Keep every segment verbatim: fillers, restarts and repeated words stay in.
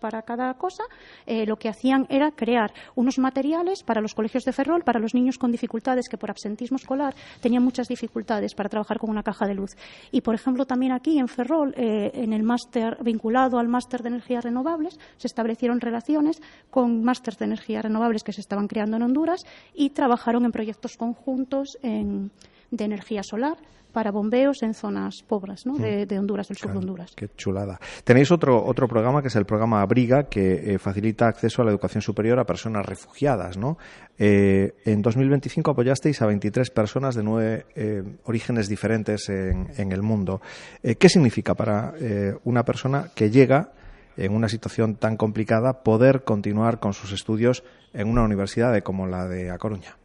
para cada cosa, eh, lo que hacían era crear unos materiales para los colegios de Ferrol, para los niños con dificultades que por absentismo escolar tenían muchas dificultades para trabajar con una caja de luz. Y, por ejemplo, también aquí en Ferrol, eh, en el máster vinculado al máster de energías renovables, se establecieron relaciones con másters de energías renovables que se estaban creando en Honduras y trabajaron en proyectos conjuntos en, de energía solar para bombeos en zonas pobres, ¿no? de, de Honduras, del sur claro, de Honduras. Qué chulada. Tenéis otro otro programa que es el programa Abriga, que eh, facilita acceso a la educación superior a personas refugiadas, ¿no? Eh, en dos mil veinticinco apoyasteis a veintitrés personas de nueve eh, orígenes diferentes en, en el mundo. Eh, ¿Qué significa para eh, una persona que llega en una situación tan complicada poder continuar con sus estudios en una universidad de, como la de A Coruña?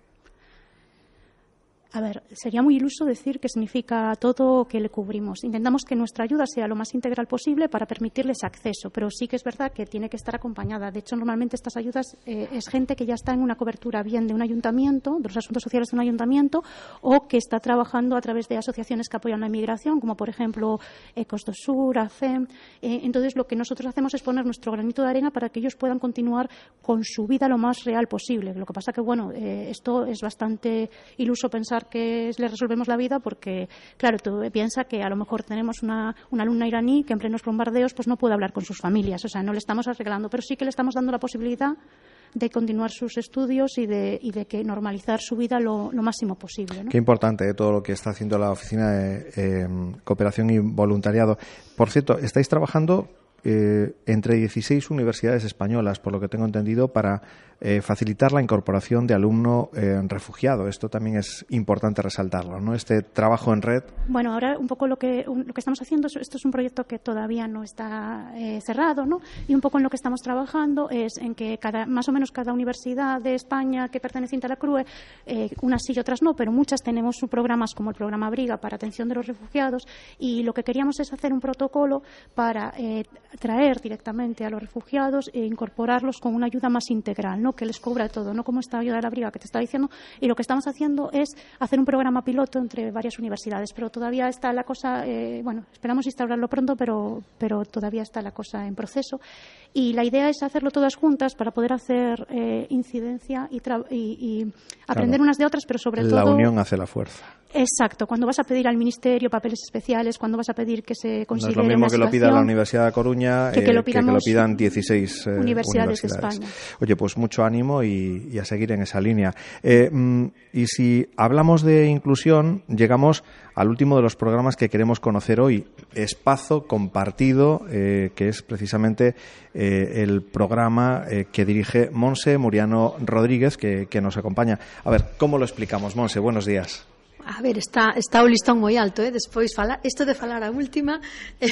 A ver, sería muy iluso decir que significa todo que le cubrimos. Intentamos que nuestra ayuda sea lo más integral posible para permitirles acceso, pero sí que es verdad que tiene que estar acompañada. De hecho, normalmente estas ayudas eh, es gente que ya está en una cobertura bien de un ayuntamiento, de los asuntos sociales de un ayuntamiento, o que está trabajando a través de asociaciones que apoyan la inmigración, como por ejemplo Ecos do Sur, A C E M. Eh, entonces, lo que nosotros hacemos es poner nuestro granito de arena para que ellos puedan continuar con su vida lo más real posible. Lo que pasa que, bueno, eh, esto es bastante iluso pensar que le resolvemos la vida porque, claro, tú piensas que a lo mejor tenemos una, una alumna iraní que en plenos bombardeos pues no puede hablar con sus familias, o sea, no le estamos arreglando, pero sí que le estamos dando la posibilidad de continuar sus estudios y de, y de que normalizar su vida lo, lo máximo posible, ¿no? Qué importante, ¿eh? Todo lo que está haciendo la Oficina de eh, Cooperación y Voluntariado. Por cierto, estáis trabajando eh, entre dieciséis universidades españolas, por lo que tengo entendido, para eh, facilitar la incorporación de alumno eh, refugiado. Esto también es importante resaltarlo, ¿no? Este trabajo en red. Bueno, ahora un poco lo que, un, lo que estamos haciendo, esto es un proyecto que todavía no está eh, cerrado, ¿no? Y un poco en lo que estamos trabajando es en que cada, más o menos cada universidad de España que perteneciente a la CRUE, eh, unas sí y otras no, pero muchas tenemos programas como el programa Abriga para atención de los refugiados, y lo que queríamos es hacer un protocolo para eh, traer directamente a los refugiados e incorporarlos con una ayuda más integral, ¿no? Que les cubra todo, no como esta ayuda de la Abriga que te estaba diciendo. Y lo que estamos haciendo es hacer un programa piloto entre varias universidades, pero todavía está la cosa, eh, bueno, esperamos instaurarlo pronto, pero, pero todavía está la cosa en proceso. Y la idea es hacerlo todas juntas para poder hacer eh, incidencia y, y, y aprender, claro, unas de otras, pero sobre la todo... La unión hace la fuerza. Exacto. Cuando vas a pedir al Ministerio papeles especiales, cuando vas a pedir que se considere no es lo mismo una que lo pida la Universidad de Coruña que, que, lo, eh, que, que lo pidan dieciséis eh, universidades, universidades de España. Oye, pues mucho ánimo y, y a seguir en esa línea. Eh, y si hablamos de inclusión, llegamos al último de los programas que queremos conocer hoy, Espazo Compartido, eh, que es precisamente eh, el programa eh, que dirige Monse Muriano Rodríguez, que, que nos acompaña. A ver, ¿cómo lo explicamos, Monse? Buenos días. A ver, está, está o listón moi alto, eh? Despois falar, isto de falar a última, eh,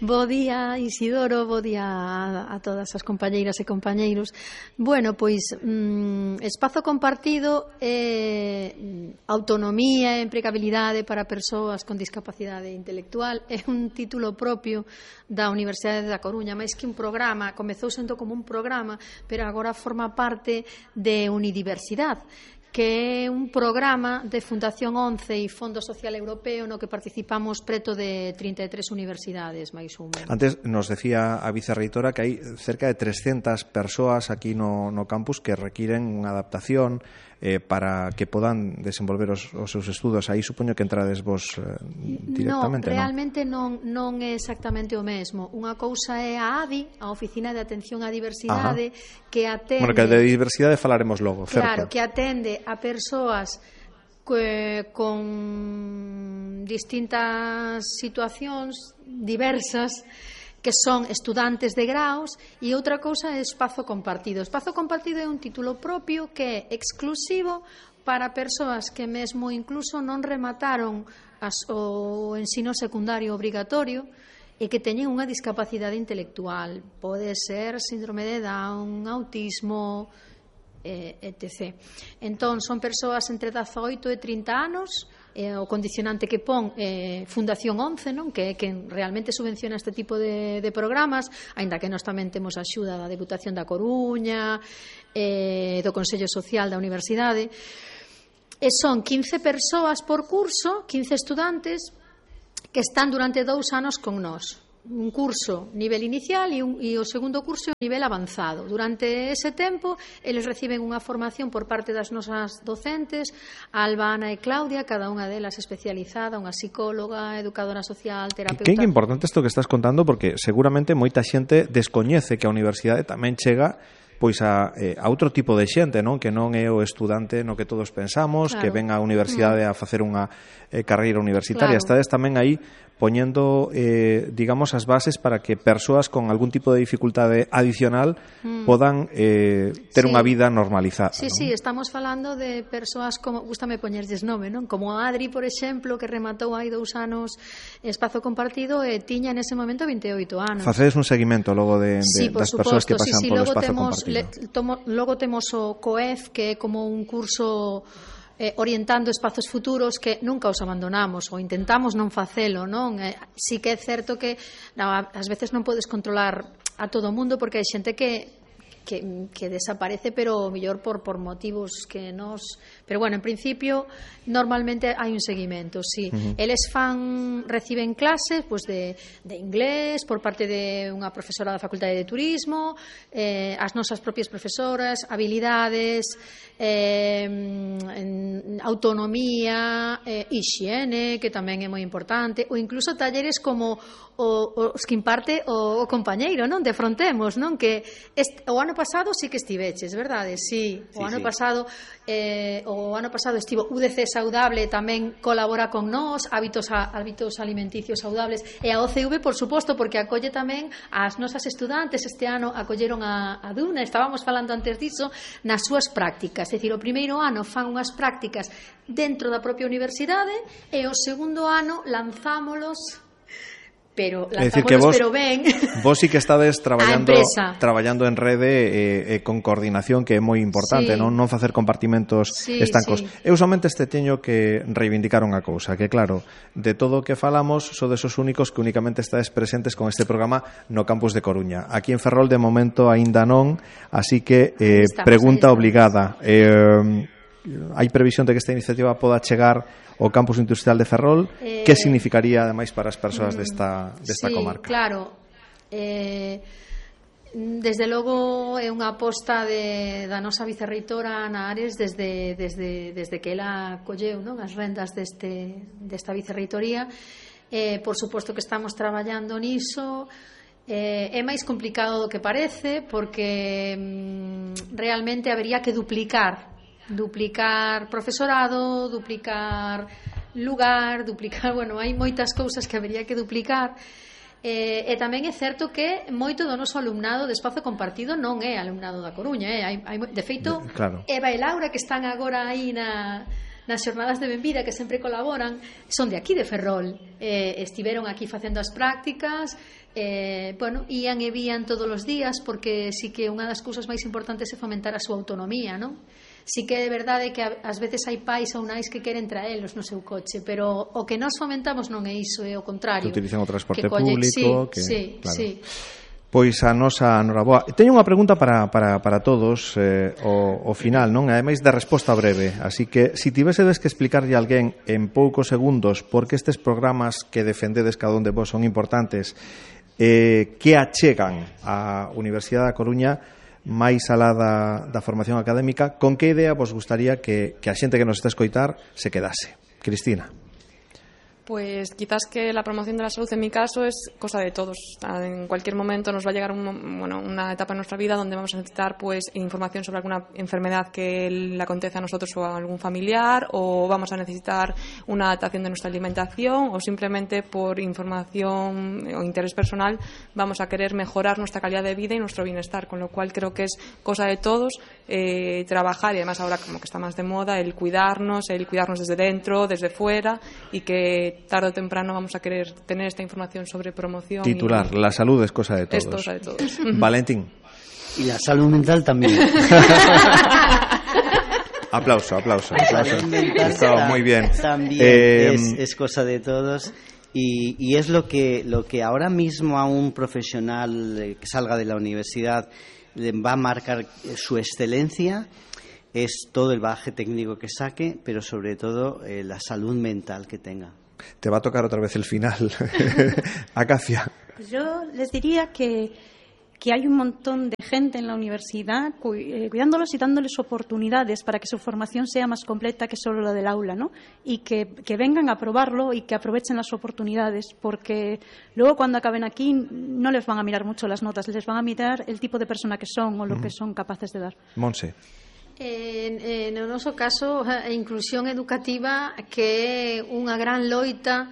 bo día Isidoro, bo día a, a todas as compañeiras e compañeiros. Bueno, pois mm, espazo compartido é eh, autonomía e empregabilidade para persoas con discapacidade intelectual, é un título propio da Universidade da Coruña, máis que un programa, comezou sendo como un programa, pero agora forma parte de Unidiversidade, que é un programa de Fundación once e Fondo Social Europeo no que participamos preto de trinta e tres universidades, máis ou menos. Antes nos decía a vicerreitora que hai cerca de trescentas persoas aquí no, no campus que requiren unha adaptación eh, para que podan desenvolver os, os seus estudos. Aí supoño que entrades vos eh, directamente, non? Realmente non, non é exactamente o mesmo. Unha cousa é a A D I, a Oficina de Atención á Diversidade, Ajá. que atende... Bueno, que de diversidade falaremos logo, claro, certo. que atende a persoas que, con distintas situacións diversas, que son estudantes de graus, e outra cousa é espazo compartido. Espazo compartido é un título propio que é exclusivo para persoas que mesmo incluso non remataron as, o ensino secundario obrigatorio e que teñen unha discapacidade intelectual. Pode ser síndrome de Down, autismo, eh, etcétera. Entón, son persoas entre dezaoito e trinta anos. Eh, o condicionante que pon eh, Fundación once, non? Que é quen realmente subvenciona este tipo de, de programas, aínda que nós tamén temos a axuda da Deputación da Coruña, eh, do Consello Social da Universidade. E son quince persoas por curso, quince estudantes que están durante dous anos con nós. un curso nivel inicial e, un, e o segundo curso nivel avanzado. Durante ese tempo, eles reciben unha formación por parte das nosas docentes, Alba, Ana e Claudia, cada unha delas especializada, unha psicóloga, educadora social, terapeuta. Que é importante isto que estás contando, porque seguramente moita xente descoñece que a universidade tamén chega pois a, eh, a outro tipo de xente, non? Que non é o estudante no que todos pensamos, claro, que ven á universidade mm. a facer unha eh, carreira universitaria. Claro. Estades tamén aí poñendo, eh, digamos, as bases para que persoas con algún tipo de dificultade adicional mm. podan eh, ter sí. unha vida normalizada. Sí, non? sí, estamos falando de persoas como, gústame poñerlles nome, non? Como Adri, por exemplo, que rematou hai dous anos espazo compartido e tiña nese momento vinte e oito anos. Facedes un seguimento logo de, de sí, das suposto, persoas que pasan sí, sí, polo logo espazo temos, compartido. Le, tomo, logo temos o COEF, que é como un curso Eh, orientando espazos futuros que nunca os abandonamos ou intentamos non facelo, non? Eh, sí que é certo que no, ás veces non podes controlar a todo o mundo porque hai xente que que, que desaparece, pero mellor por, por motivos que nos... Pero bueno, en principio, normalmente hai un seguimento, sí. Uh-huh. Eles fan, reciben clases pues, de, de inglés por parte de unha profesora da Facultade de Turismo, eh, as nosas propias profesoras, habilidades, eh, en, autonomía, eh, hixiene, que tamén é moi importante, ou incluso talleres como o, os que imparte o, o compañeiro, non? De Frontemos, non? Que este, o ano pasado sí que estiveches, verdade? Sí, o sí, ano sí. pasado eh, o ano pasado estivo U D C Saudable, tamén colabora con nós, hábitos a, hábitos alimenticios saudables, e a O C V, por suposto, porque acolle tamén as nosas estudantes. Este ano acolleron a, a Duna, estábamos falando antes diso, nas súas prácticas, é dicir, o primeiro ano fan unhas prácticas dentro da propia universidade e o segundo ano lanzámolos pero é dicir que vos, pero ben vos sí que estades traballando traballando en rede e eh, eh, con coordinación, que é moi importante, sí. non non facer compartimentos sí, estancos. Sí. Eu somente este teño que reivindicar unha cousa, que claro, de todo o que falamos sodes os únicos que únicamente estades presentes con este programa no campus de Coruña. Aquí en Ferrol de momento aínda non, así que eh, estamos, pregunta obligada. Eh, hai previsión de que esta iniciativa poda chegar ao campus industrial de Ferrol? Eh, que significaría ademais para as persoas desta, desta sí, comarca? Claro, eh, desde logo é unha aposta de, da nosa vicerreitora Ana Ares desde, desde, desde que ela colleu, non, as rendas deste, desta vicerreitoría. Eh, por suposto que estamos traballando niso. Eh, é máis complicado do que parece porque mm, realmente habería que duplicar duplicar profesorado, duplicar lugar, duplicar, bueno, hai moitas cousas que habería que duplicar. Eh, e tamén é certo que moito do noso alumnado de espazo compartido non é alumnado da Coruña, eh? hai, hai, de feito, de, claro. Eva e Laura, que están agora aí na nas xornadas de Benvida, que sempre colaboran, son de aquí de Ferrol, eh, estiveron aquí facendo as prácticas, eh, bueno, ían e vían todos os días, porque sí que unha das cousas máis importantes é fomentar a súa autonomía, non? Sí que é verdade que ás veces hai pais ou nais que queren traelos no seu coche, pero o que nós fomentamos non é iso, é o contrario. Que utilizan o transporte colle, público. Sí, que, sí, claro. sí. Pois a nosa Noraboa. Teño unha pregunta para, para, para todos eh, o, o final, non? Ademais de resposta breve. Así que, se si tivesedes que explicarlle a alguén en poucos segundos por que estes programas que defendedes cada un de vos son importantes, eh, que achegan á Universidade da Coruña máis alá da, da formación académica, con que idea vos gustaría que, que a xente que nos está a escoitar se quedase? Cristina. Pues quizás que la promoción de la salud en mi caso es cosa de todos. En cualquier momento nos va a llegar un, bueno, una etapa en nuestra vida donde vamos a necesitar pues información sobre alguna enfermedad que le acontece a nosotros o a algún familiar, o vamos a necesitar una adaptación de nuestra alimentación, o simplemente por información o interés personal vamos a querer mejorar nuestra calidad de vida y nuestro bienestar, con lo cual creo que es cosa de todos eh, trabajar, y además ahora como que está más de moda el cuidarnos, el cuidarnos desde dentro, desde fuera, y que tarde o temprano vamos a querer tener esta información sobre promoción. Titular, y... la salud es cosa de todos. Es cosa de todos. Valentín. Y la salud mental también. Aplauso, aplauso. La salud mental está muy bien. También eh, es, es cosa de todos. Y, y es lo que, lo que ahora mismo a un profesional que salga de la universidad va a marcar su excelencia. Es todo el bagaje técnico que saque, pero sobre todo eh, la salud mental que tenga. Te va a tocar otra vez el final. Acacia. Pues yo les diría que, que hay un montón de gente en la universidad cuidándolos y dándoles oportunidades para que su formación sea más completa que solo la del aula, ¿no? Y que, que vengan a probarlo y que aprovechen las oportunidades, porque luego cuando acaben aquí no les van a mirar mucho las notas, les van a mirar el tipo de persona que son o lo mm. que son capaces de dar. Monse. En, en o noso caso, a inclusión educativa que é unha gran loita.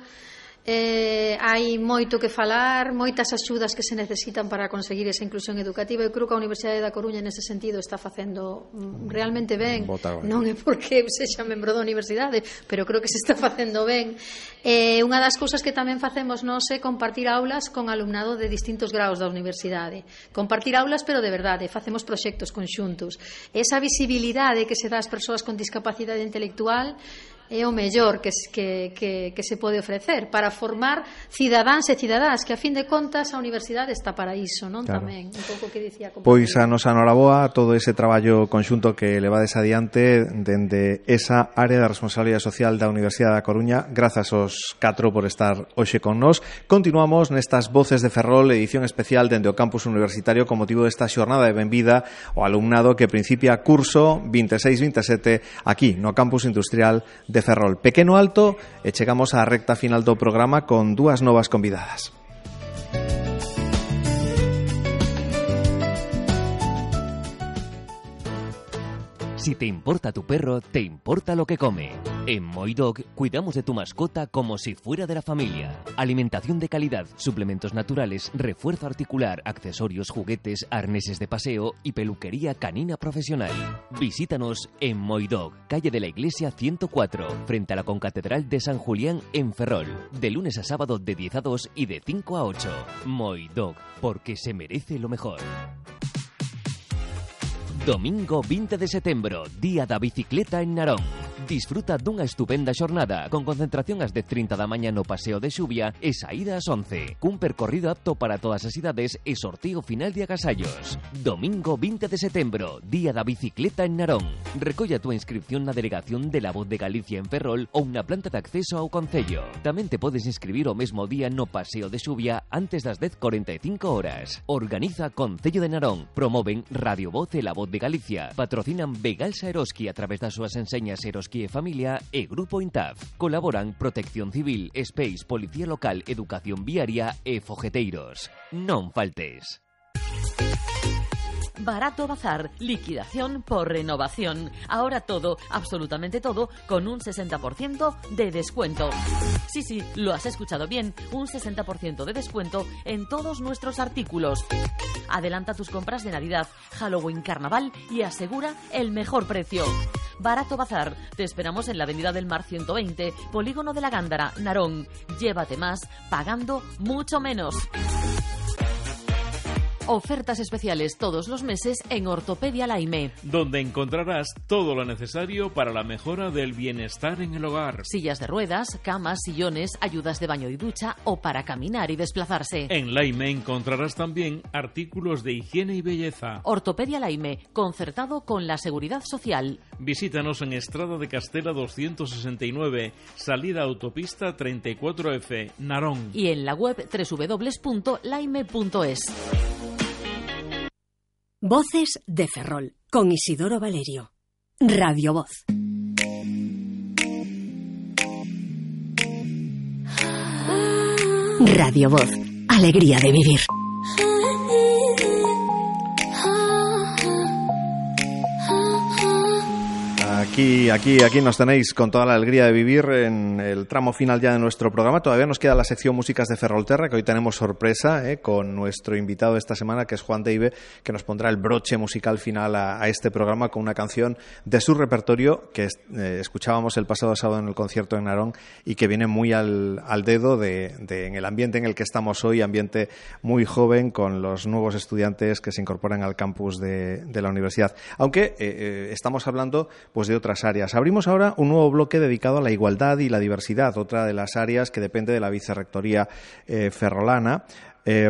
Eh, hai moito que falar, moitas axudas que se necesitan para conseguir esa inclusión educativa. Eu creo que a Universidade da Coruña nese sentido está facendo realmente ben. Non é porque sexa membro da universidade, pero creo que se está facendo ben. Eh, unha das cousas que tamén facemos nós é compartir aulas con alumnado de distintos graus da universidade. Compartir aulas, pero de verdade, facemos proxectos conxuntos. Esa visibilidade que se dá ás persoas con discapacidade intelectual é o mellor que, que, que, que se pode ofrecer para formar cidadáns e cidadás, que a fin de contas a universidade está para iso, non? Claro. Tamén, un pouco que dicía Pois a nos anoraboa todo ese traballo conxunto que levades adiante dende esa área de responsabilidade social da Universidade da Coruña. Grazas aos catro por estar hoxe con nós. Continuamos nestas Voces de Ferrol, edición especial dende o campus universitario con motivo desta xornada de benvida ao alumnado que principia curso vinte e seis vinte e sete aquí no campus industrial de Ferrol. Pequeno alto e chegamos á recta final do programa con dúas novas convidadas. Si te importa tu perro, te importa lo que come. En Moidog cuidamos de tu mascota como si fuera de la familia. Alimentación de calidad, suplementos naturales, refuerzo articular, accesorios, juguetes, arneses de paseo y peluquería canina profesional. Visítanos en Moidog, calle de la Iglesia ciento cuatro, frente a la Concatedral de San Julián en Ferrol. De lunes a sábado de diez a dos y de cinco a ocho. Moidog, porque se merece lo mejor. Domingo vinte de setembro, Día da Bicicleta en Narón. Disfruta dunha estupenda xornada con concentración ás dez e trinta da mañá no Paseo de Xuvia e saída ás once. Cun percorrido apto para todas as idades e sorteo final de agasallos. Domingo vinte de setembro, Día da Bicicleta en Narón. Recolla a túa inscripción na delegación de La Voz de Galicia en Ferrol ou na planta de acceso ao concello. Tamén te podes inscribir o mesmo día no Paseo de Xuvia antes das dez e cuarenta e cinco horas. Organiza Concello de Narón. Promoven Radio Voz e La Voz de Galicia. Patrocinan Begalsa Eroski a través das súas enseñas Eroski e Familia e Grupo Intaf. Colaboran Protección Civil, Space, Policía Local, Educación Viaria e Fogeteiros. Non faltes. Barato Bazar, liquidación por renovación. Ahora todo, absolutamente todo, con un sesenta por ciento de descuento. Sí, sí, lo has escuchado bien, un sesenta por ciento de descuento en todos nuestros artículos. Adelanta tus compras de Navidad, Halloween, Carnaval y asegura el mejor precio. Barato Bazar, te esperamos en la Avenida del Mar ciento veinte, Polígono de la Gándara, Narón. Llévate más, pagando mucho menos. Ofertas especiales todos los meses en Ortopedia Laime, donde encontrarás todo lo necesario para la mejora del bienestar en el hogar. Sillas de ruedas, camas, sillones, ayudas de baño y ducha o para caminar y desplazarse. En Laime encontrarás también artículos de higiene y belleza. Ortopedia Laime, concertado con la Seguridad Social. Visítanos en Estrada de Castela doscientos sesenta y nueve, salida autopista treinta y cuatro F, Narón. Y en la web doble u doble u doble u punto laime punto es. Voces de Ferrol, con Isidoro Valerio. Radio Voz. Radio Voz, alegría de vivir. Aquí, aquí, aquí nos tenéis con toda la alegría de vivir en el tramo final ya de nuestro programa. Todavía nos queda la sección Músicas de Ferrolterra, que hoy tenemos sorpresa eh, con nuestro invitado de esta semana, que es Juan Deive, que nos pondrá el broche musical final a, a este programa con una canción de su repertorio que eh, escuchábamos el pasado sábado en el concierto en Narón y que viene muy al, al dedo de, de, en el ambiente en el que estamos hoy, ambiente muy joven con los nuevos estudiantes que se incorporan al campus de, de la universidad. Aunque eh, eh, estamos hablando pues de otras áreas. Abrimos ahora un nuevo bloque dedicado a la igualdad y la diversidad, otra de las áreas que depende de la Vicerrectoría eh, ferrolana. Eh,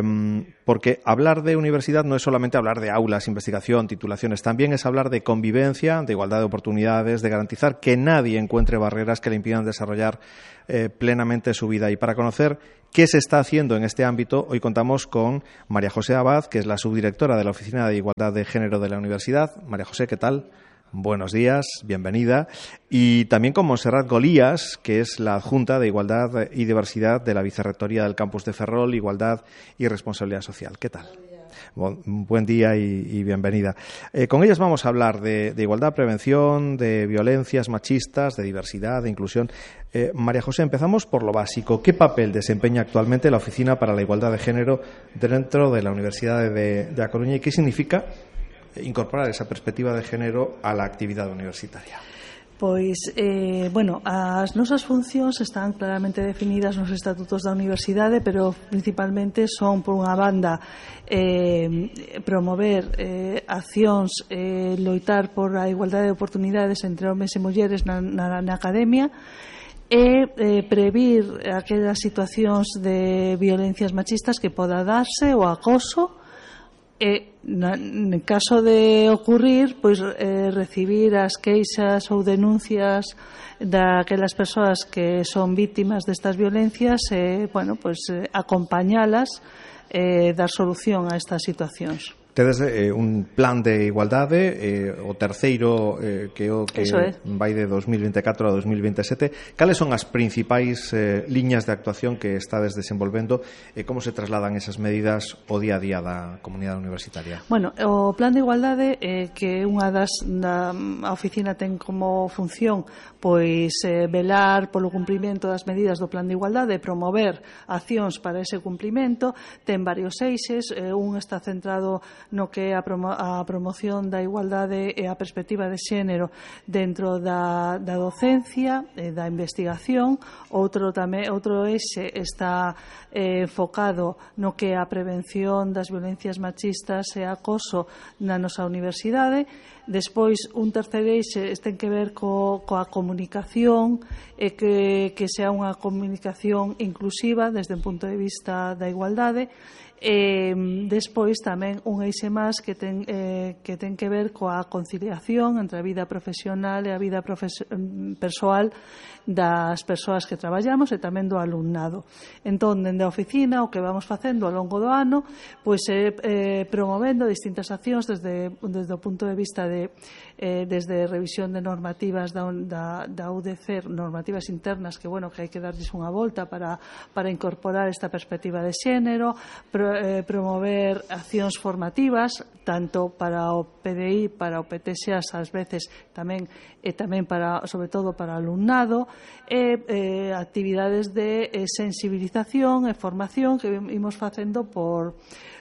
porque hablar de universidad no es solamente hablar de aulas, investigación, titulaciones, también es hablar de convivencia, de igualdad de oportunidades, de garantizar que nadie encuentre barreras que le impidan desarrollar eh, plenamente su vida. Y para conocer qué se está haciendo en este ámbito, hoy contamos con María José Abad, que es la subdirectora de la Oficina de Igualdad de Género de la Universidad. María José, ¿qué tal? Buenos días, bienvenida. Y también con Montserrat Golías, que es la adjunta de Igualdad y Diversidad de la Vicerrectoría del Campus de Ferrol, Igualdad y Responsabilidad Social. ¿Qué tal? Buen, buen día y, y bienvenida. Eh, con ellas vamos a hablar de, de igualdad, prevención, de violencias machistas, de diversidad, de inclusión. Eh, María José, empezamos por lo básico. ¿Qué papel desempeña actualmente la Oficina para la Igualdad de Género dentro de la Universidad de, de A Coruña y qué significa incorporar esa perspectiva de género a la actividade universitaria? Pois, eh, bueno, as nosas funcións están claramente definidas nos estatutos da universidade, pero principalmente son, por unha banda, eh, promover eh, accións, eh, loitar por a igualdade de oportunidades entre homes e mulleres na, na, na academia, e eh, previr aquelas situacións de violencias machistas que poda darse, o acoso, e en caso de ocurrir, pois eh, recibir as queixas ou denuncias daquelas persoas que son vítimas destas violencias e, bueno, pois eh, acompañalas e eh, dar solución a estas situacións. Tedes eh, un plan de igualdade, eh, o terceiro eh, que o que é. vai de dos mil vinte e catro a dos mil vinte e sete. Cales son as principais eh, liñas de actuación que estades desenvolvendo e como se trasladan esas medidas ao día a día da comunidade universitaria? Bueno, o plan de igualdade eh, que unha das da, a oficina ten como función pois eh, velar polo cumprimento das medidas do plan de igualdade e promover accións para ese cumprimento. Ten varios eixes, eh, un está centrado no que é a, promo a promoción da igualdade e a perspectiva de xénero dentro da, da docencia e da investigación. Outro tamén outro eixe está eh, enfocado no que é a prevención das violencias machistas e acoso na nosa universidade. Despois, un terceiro eixe ten que ver co, coa comunicación e que, que sea unha comunicación inclusiva desde un punto de vista da igualdade. E despois tamén un eixe máis que ten, eh, que ten que ver coa conciliación entre a vida profesional e a vida persoal das persoas que traballamos e tamén do alumnado. Entón, dende a oficina, o que vamos facendo ao longo do ano pois é eh, promovendo distintas accións desde, desde o punto de vista de eh, desde revisión de normativas da, da, da U D C, normativas internas que, bueno, que hai que darlles unha volta para, para incorporar esta perspectiva de xénero, pro, eh, promover accións formativas tanto para o P D I, para o P T X A S ás veces tamén e tamén para, sobre todo para o alumnado, e eh, actividades de eh, sensibilización e formación que imos facendo por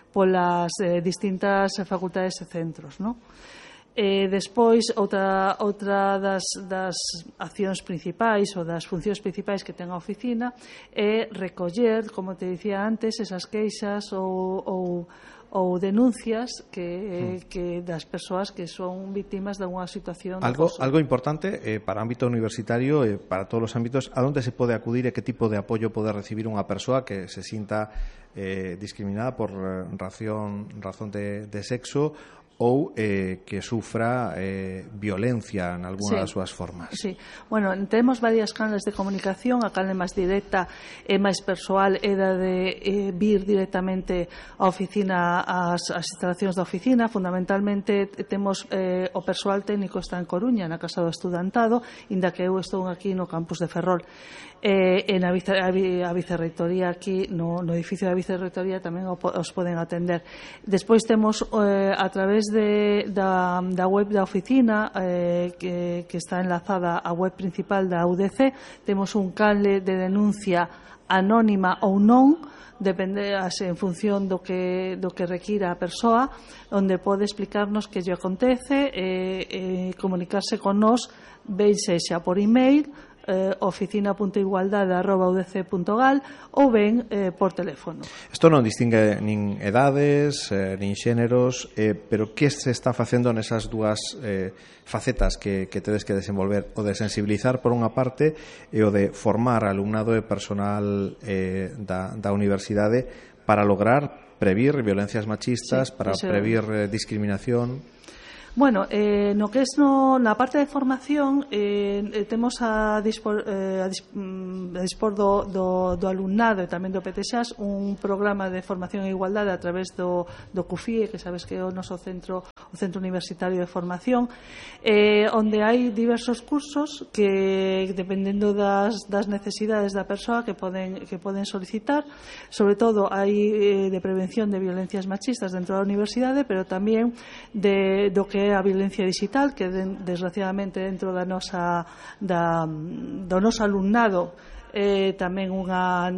polas eh, distintas facultades e centros, non? E despois, outra, outra das, das accións principais ou das funcións principais que ten a oficina é recoller, como te dicía antes, esas queixas ou, ou, ou denuncias que, que das persoas que son vítimas de unha situación de algo, acoso. algo importante eh, para o ámbito universitario e eh, para todos os ámbitos, a onde se pode acudir e que tipo de apoio pode recibir unha persoa que se sinta eh, discriminada por eh, razón, razón de, de sexo ou eh, que sufra eh, violencia en algunha sí. das súas formas. Sí. Bueno, temos varias canles de comunicación. A canle máis directa e máis persoal é da de eh, vir directamente á oficina, ás, ás instalacións da oficina. Fundamentalmente temos eh, o persoal técnico está en Coruña, na Casa do Estudantado, inda que eu estou aquí no campus de Ferrol. Eh, en a, vice, a, a vicerrectoría aquí no, no edificio da vicerrectoría tamén os poden atender. Despois temos eh, a través de, da, da web da oficina eh, que, que está enlazada á web principal da U D C, temos un canle de denuncia anónima ou non, depende en función do que, do que requira a persoa, onde pode explicarnos que lle acontece e eh, eh, comunicarse con nós, ben sexa por email, Eh, oficina punto igualdade arroba u d c punto gal ou ben eh, por teléfono. Isto non distingue nin edades, eh, nin xéneros, eh, pero que se está facendo nesas dúas eh, facetas que, que tedes que desenvolver, o de sensibilizar por unha parte e o de formar alumnado e personal eh, da, da universidade para lograr previr violencias machistas, sí, para eso... previr eh, discriminación? Bueno, eh, no que es no, na parte de formación eh, temos a dispor, eh, a dispor do, do, do alumnado e tamén do P T X A S un programa de formación e igualdade a través do, do C U F I E, que sabes que é o noso centro, o Centro Universitario de Formación, eh, onde hai diversos cursos que, dependendo das, das necesidades da persoa, que poden, que poden solicitar. Sobre todo hai eh, de prevención de violencias machistas dentro da universidade, pero tamén de, do que é a violencia digital, que desgraciadamente dentro da nosa da, do noso alumnado eh, tamén unha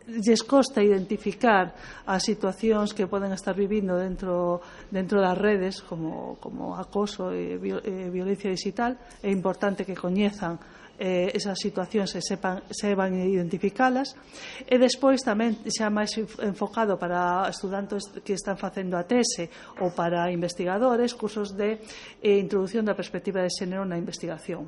lles costa identificar as situacións que poden estar vivindo dentro dentro das redes como, como acoso e, e violencia digital. É importante que coñezan Eh, esas situacións se sepan, sepan identificalas, e despois tamén xa máis enfocado para estudantes que están facendo a tese ou para investigadores, cursos de eh, introducción da perspectiva de xénero na investigación.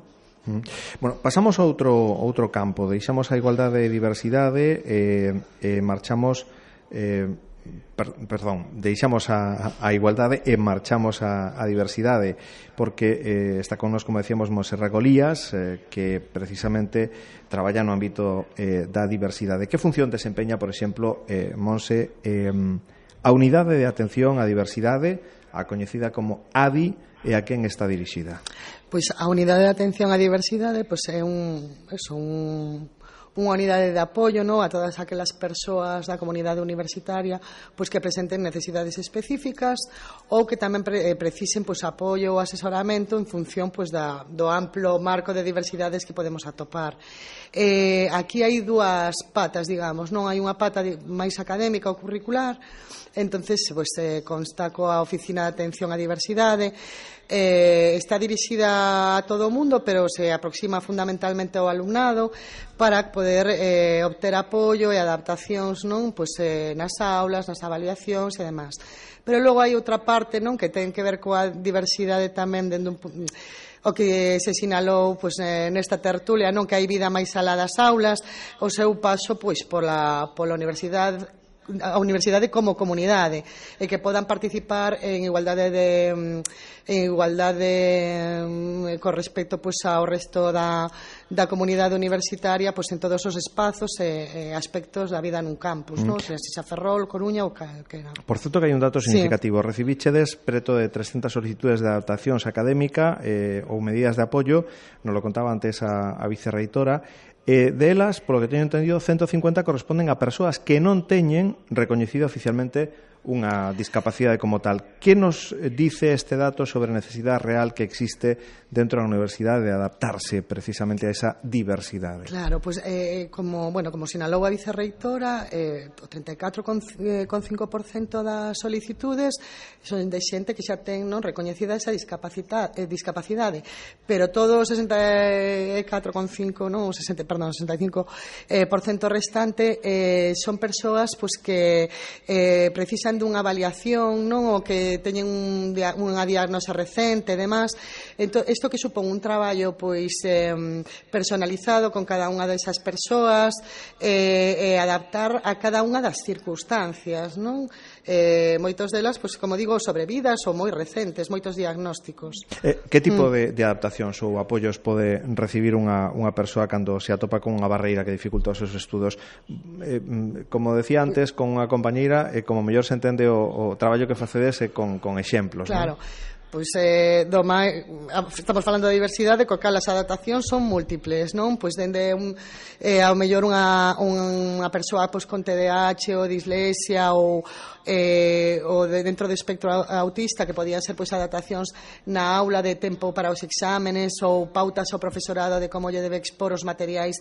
Bueno, pasamos a outro, outro campo, deixamos a igualdade e diversidade e eh, eh, marchamos eh, Per, perdón, deixamos a, a igualdade e marchamos a, a diversidade, porque eh, está con nos, como decíamos, Montserrat Golías, eh, que precisamente traballa no ámbito eh, da diversidade. Que función desempeña, por exemplo, eh, Monse, eh, a Unidade de Atención á Diversidade, a coñecida como A D I, e a quen está dirixida? Pois a Unidade de Atención á Diversidade pois é un, eso, un unha unidade de apoio, no, a todas aquelas persoas da comunidade universitaria pois que presenten necesidades específicas ou que tamén pre, eh, precisen pois apoio ou asesoramento en función pois da, do amplo marco de diversidades que podemos atopar. Eh, aquí hai dúas patas, digamos, non hai unha pata máis académica ou curricular. Entonces, pois, eh, consta coa Oficina de Atención á Diversidade. Eh, está dirixida a todo o mundo, pero se aproxima fundamentalmente ao alumnado para poder eh, obter apoio e adaptacións, non, pois, eh, nas aulas, nas avaliacións e demás. Pero logo hai outra parte, non, que ten que ver coa diversidade tamén dentro un o que se sinalou pois, eh, nesta tertulia, non, que hai vida máis alá das aulas, o seu paso pois, pola, pola universidade a universidade como comunidade e que podan participar en igualdade de en igualdade con respecto pois ao resto da, da comunidade universitaria pois en todos os espazos e, e aspectos da vida nun campus, mm. non? Se xa Ferrol, Coruña ou calquera. Por certo que hai un dato significativo, sí. Recibichedes preto de trescentas solicitudes de adaptacións académica eh, ou medidas de apoio, nos lo contaba antes a, a vicerreitora. Eh, delas, polo que teño entendido, ciento cincuenta corresponden a persoas que non teñen recoñecido oficialmente unha discapacidade como tal. Que nos dice este dato sobre a necesidade real que existe dentro da universidade de adaptarse precisamente a esa diversidade? Claro, pois, pues, eh, como, bueno, como sinalou a vicerreitora, eh, o trinta e catro con cinco por cento das solicitudes son de xente que xa ten, non, recoñecida esa discapacidade, eh, discapacidade, pero todo o sesenta e catro con cinco, non, sesenta, perdón, sesenta e cinco eh, por cento restante eh, son persoas pois, que eh, precisan dunha avaliación, non, ou que teñen un, unha diagnose recente e demás. Entón, isto que supón un traballo pois eh, personalizado con cada unha desas persoas e eh, eh, adaptar a cada unha das circunstancias, non? Eh, moitos delas, pois, como digo, sobrevidas ou moi recentes, moitos diagnósticos. Eh, que tipo mm. de, de adaptacións ou apoios pode recibir unha, unha persoa cando se atopa con unha barreira que dificulta os seus estudos? Eh, como decía antes, con unha compañeira, eh, como mellor se entende o, o traballo que facedes con, con exemplos, claro. Non? Pois eh, do máis, estamos falando de diversidade, co cal as adaptacións son múltiples, non? Pois dende un, eh, ao mellor unha, unha persoa pois, con T D A H ou dislexia ou eh, ou de dentro do espectro autista, que podían ser pois adaptacións na aula de tempo para os exámenes ou pautas ao profesorado de como lle debe expor os materiais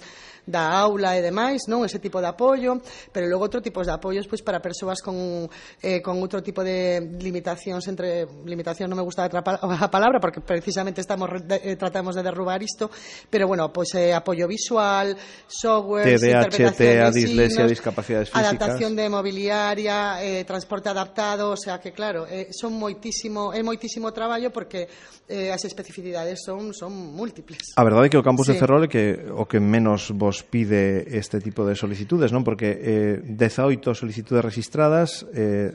da aula e demais, non? Ese tipo de apoio, pero logo outro tipo de apoios pois para persoas con, eh, con outro tipo de limitacións, entre limitacións non me gusta a palabra porque precisamente estamos eh, tratamos de derrubar isto, pero bueno, pois pues, eh, apoio visual, software, T D A H, T E A, dislexia, discapacidades físicas, adaptación de mobiliaria, eh, transporte adaptado, o sea que claro, eh, son moitísimo, é moitísimo traballo porque eh, as especificidades son son múltiples. A verdade é que o campus sí. de Ferrol é que o que menos vos pide este tipo de solicitudes, non? Porque eh, dezaoito solicitudes registradas eh,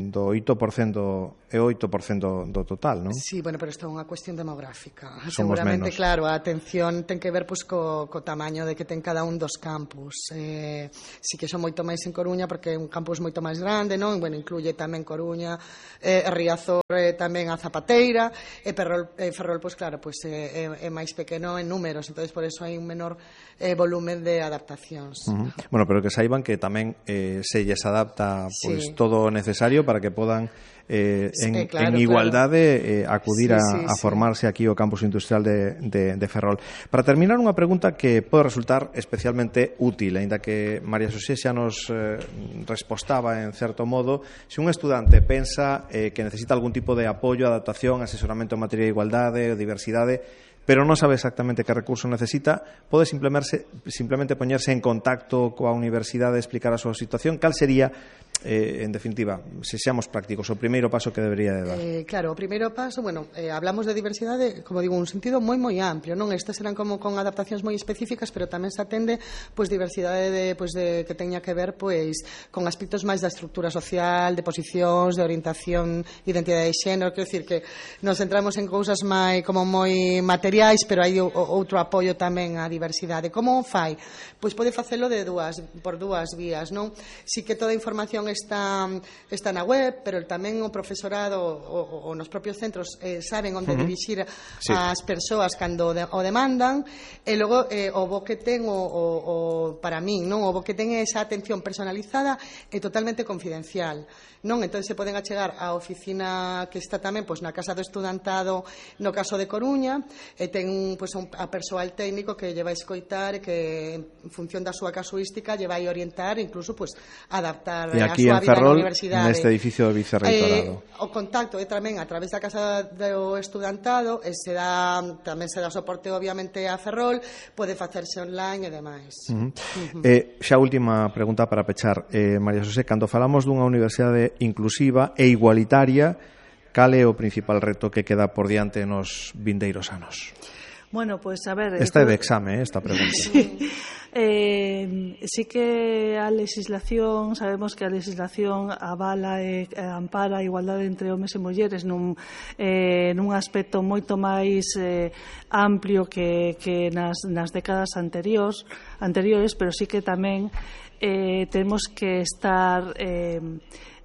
do oito por cento é o oito por cento do total, non? Sí, bueno, pero isto é unha cuestión demográfica. Somos Seguramente, menos. claro, a atención ten que ver pois, co, co tamaño de que ten cada un dos campus. Eh, sí que son moito máis en Coruña porque é un campus moito máis grande, non? Bueno, incluye tamén Coruña, eh, Riazor, eh, tamén a Zapateira, e Ferrol, eh, Ferrol pois claro, pois é, é, é máis pequeno en números, entonces por eso hai un menor eh, volumen de adaptacións. Uh-huh. Bueno, pero que saiban que tamén eh, se lles adapta pois Sí. todo o necesario para que podan eh, en, Sí, claro, en igualdade eh, acudir Sí, a, sí, a sí. formarse aquí ao campus industrial de, de, de Ferrol. Para terminar, unha pregunta que pode resultar especialmente útil, aínda que María Xosé xa nos eh, respostaba en certo modo. Se un estudante pensa eh, que necesita algún tipo de apoio, adaptación, asesoramento en materia de igualdade ou diversidade, pero non sabe exactamente que recurso necesita, pode simplemente, simplemente poñerse en contacto coa universidade, explicar a súa situación. Cal sería, eh, en definitiva, se seamos prácticos, o primeiro paso que debería de dar? Eh, claro, o primeiro paso, bueno, eh, hablamos de diversidade, como digo, un sentido moi moi amplio, non? Estas serán como con adaptacións moi específicas, pero tamén se atende pois diversidade de, pois, de que teña que ver pois con aspectos máis da estrutura social, de posicións, de orientación, identidade de xénero, quero dicir que nos centramos en cousas máis como moi materiais, pero hai o, outro apoio tamén á diversidade. Como o fai? Pois pode facelo de dúas, por dúas vías, non? Si que toda a información está está na web, pero tamén o profesorado o, o nos propios centros eh, saben onde Uh-huh. dirixir Sí. as persoas cando de, o demandan, e logo eh, o bo que ten o, o, o para min, non? O bo que ten esa atención personalizada e totalmente confidencial, non? Entón se poden achegar á oficina que está tamén pois na Casa do Estudantado no caso de Coruña, e ten pois un a persoal técnico que lle vai escoitar e que en función da súa casuística lle vai orientar, incluso pois adaptar E a aquí súa en vida na Ferrol, universidade. neste edificio do Vicerreitorado. Eh, o contacto é tamén a través da Casa do Estudantado, e se dá, tamén se dá soporte obviamente a Ferrol, pode facerse online e demais. Uh-huh. Uh-huh. Eh, xa última pregunta para pechar, eh, María Xosé, cando falamos dunha universidade inclusiva e igualitaria, cal é o principal reto que queda por diante nos vindeiros anos? Bueno, pues a ver... Esta é de exame, eh, esta pregunta. Sí. Eh, sí que a legislación, sabemos que a legislación avala e ampara a igualdade entre homes e mulleres nun, eh, nun aspecto moito máis eh, amplio que, que nas, nas décadas anteriores, anteriores, pero sí que tamén eh, temos que estar... Eh,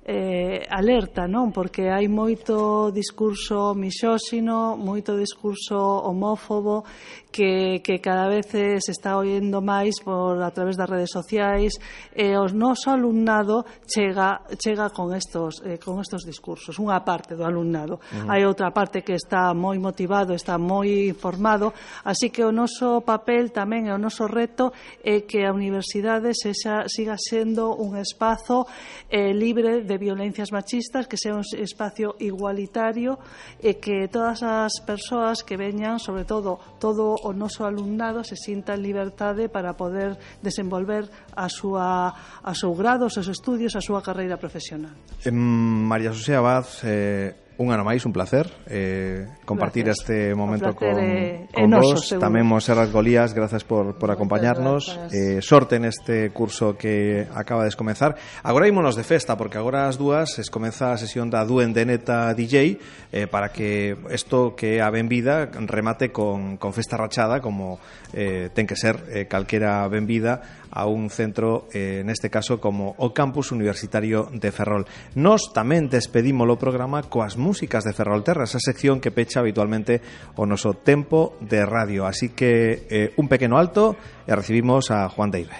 Eh, alerta, non? Porque hai moito discurso misóxino, moito discurso homófobo que, que cada vez se está oíndo máis por a través das redes sociais, e o noso alumnado chega, chega con estos eh, con estos discursos, unha parte do alumnado. Uh-huh. Hai outra parte que está moi motivado, está moi informado, así que o noso papel tamén e o noso reto é que a universidade sexa, siga sendo un espazo eh, libre de violencias machistas, que sea un espacio igualitario, e que todas as persoas que veñan, sobre todo todo o noso alumnado, se sinta en liberdade para poder desenvolver a súa a seu grado, os seus estudios, a súa carreira profesional. Eh, María Xosé Abad, eh, un ano máis, un placer eh, compartir Gracias. este momento con, é, con é noso, vos. seguro. Tamén Monserrat Golías, gracias por, por acompañarnos. Eh, sorte neste curso que acaba de comenzar. Agora ímonos de festa, porque agora as dúas es comeza a sesión da Duendeneta D J, eh, para que isto que é a benvida remate con, con festa rachada, como eh, ten que ser eh, calquera benvida a un centro, eh, neste caso como o Campus Universitario de Ferrol. Nos tamén despedimos o programa coas músicas de Ferrolterra, esa sección que pecha habitualmente o noso tempo de radio. Así que eh, un pequeno alto e recibimos a Juan Deive.